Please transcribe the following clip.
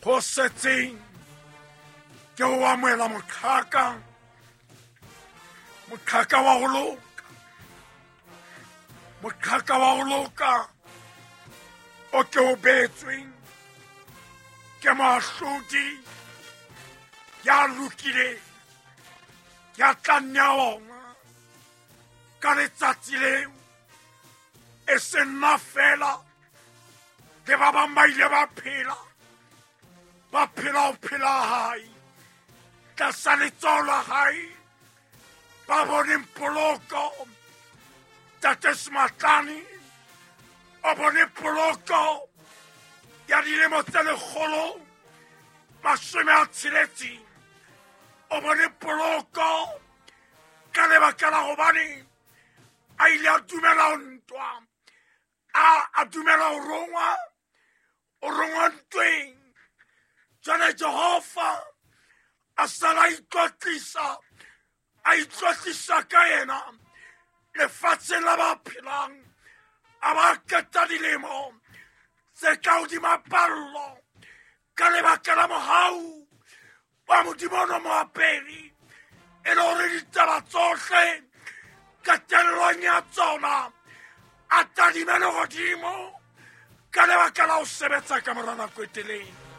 Ho setseng ke ho amohela moqhaka, moqhaka wa ho loka, moqhaka wa ho loka o ke o beetsweng ke moahlodi ya lokileng, ya tla nnea ona ka letsatsi leo. E se nna fela, le ba bang ba ile ba phela, ba phela ho phela hae tlasa letsoho la hae, ba boneng poloko. Tate Sematlane o bone poloko ya dilemo tse 160, o bone poloko ka lebaka la hobane a ile a dumela ho ntwa, a dumela ho rongwa, o rongwa ntweng. Jwale Jehova a sala itlotlisa, a itlotlisa ka yena lefatsheng la ba phelang, a ba qeta dilemo tse ka hodima pallo ka lebaka la mohau wa Modimo ono moaperi, e le hore ditaba tsohle qetellong ya tsona a tadime lehodimo ka lebaka la ho sebetsa ka mora nako e telele.